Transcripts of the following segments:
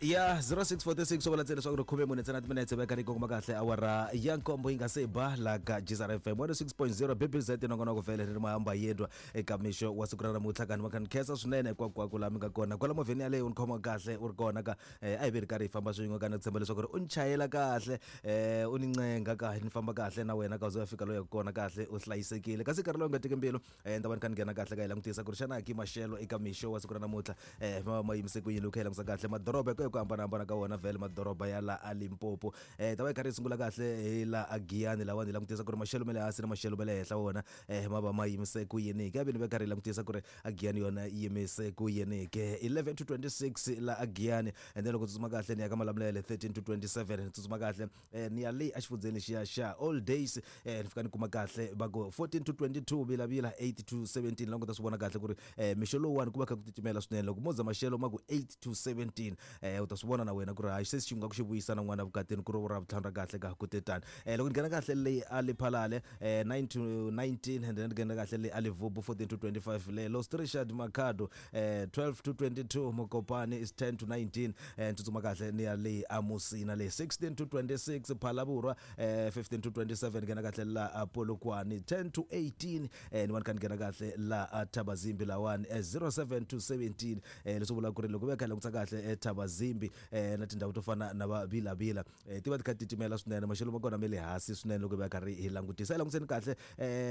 Ya 0646 swo vula ntsena leswaku ri khume mune ntsena timinetse veka ri kongoma kahle awara ya nkombo yi nga se ba la ka Gzar FM 106.0 BBZ nongonoko vhele ri ri mahamba yedwa eka mixo wa siku ra namuntlha. Kani va kha ni khensa swinene hinkwako laha mi nga kona kwala movheni yaleyo, u ni khoma kahle u ri kona ka a hi ve ri karhi hi famba swin'we. Ka ni tshemba leswaku ri u ni chayela kahle, u ni ncenga ka ni famba kahle na wena ka u ze u ya fika loyi kona kahle u hlayisekile. Kasi nkarhi lowu nga teki mbilu, ni ta va ni kha ni nghena kahle ka hi langutisa ku ri xana ki maxelo eka mixo wa siku ra namuntlha ma va ma yimise ku yini. Loko hi langutisa kahle madoroba hi ku ya ku hambanahambana ka wona, vhele madoroba ya la a Limpopo, ta va hi karhi hi sungula kahle hi la a Giyani lawani, hi langutisa ku ri maxelo ma le hansi na maxelo ma le henhla wona ma va ma yimise ku yini ke. Ni va karhi hi langutisa ku ri a Giyani yona yi yimise ku yini ke, 11 to 26 la a Giyani. And then loko tsutsuma kahle ni ya ka Malamulele, 13 to 27. Ni tsutsuma kahle ni ya le exifundzheni lexiya xa All Days, ni fika ni kuma kahle va ku 14 to 22, Vilavila 8 to 17. La nga ta swi vona kahle ku ri mixo lowuwani ku va kha ku titimela swinene. Loko mo za maxelo ma ku 8 to 17, u ta swi vona na wena ku ri hayi, se xi nga ku xi vuyisa na n'wana vukatini ku ri ra vutlhanu ra kahle ka ku te tani. Loko ni nghena kahle leyi a Lephalale, 9 to 19, and then ni nghena kahle leyi a Levubu, 14 to 25, le Los Richard Makhado, 12 to 22, Mokopane is 10 to 19. Ni tsutsuma kahle ni ya leyi a Musina leyi, 16 to 26, Phalaborwa, 15 to 27, nghena kahle la a Polokwane, 10 to 18. Ni va ni kha ni nghena kahle la a Thabazimbi lawani, 07 to 17. Leswi vulaka ku ri loko va kha hi langutisa kahle Thabazimbi na tindhawu to fana na va Vilavila, ti va ti kha ti titimela swinene, maxelo ma kona ma le hansi swinene. Loko va karhi hi langutisa, hi langutiseni kahle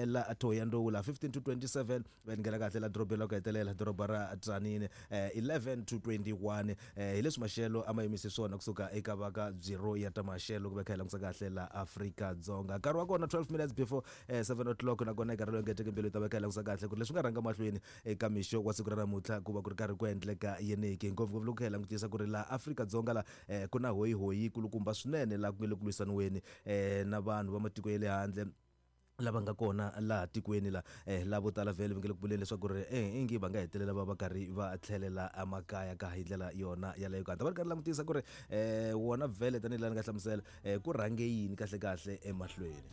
la Thohoyandou la, 15 to 27. Va ni nghena kahle la dorobeni la ku hetelela, doroba ra Tzaneen, 11 to 21. Hi leswi maxelo a ma yimise swona kusuka eka va ka Bureau ya ta maxelo loko va kha hi langutisa kahle la Afrika-Dzonga. Nkarhi wa kona 12 minutes before 7 o'clock, nakona nkarhi lowu engeteke mbilu hi ta va kha hi langutisa kahle ku ri leswi nga rhanga mahlweni eka mixo wa siku ra namuntlha ku va ku ri karhi ku endleka yeniki, ngopfungopfu loko kha hi langutisa ku ri laha Afrika-Dzonga la ku na hoyihoyi kulukumba swinene laha ku nge le ku lwisaniweni na vanhu va matiko ya le handle lava nga kona laha tikweni la. Lavo tala vhele va nge le ku vuleni leswaku ri ingi va nga hetelela va va karhi va tlhelela emakaya ka hi ndlela yona yaleyo. Ka ta va ri karhi langutisa ku ri wona vhele tanihi laha ni nga hlamusela, ku rhange yini kahle kahle emahlweni.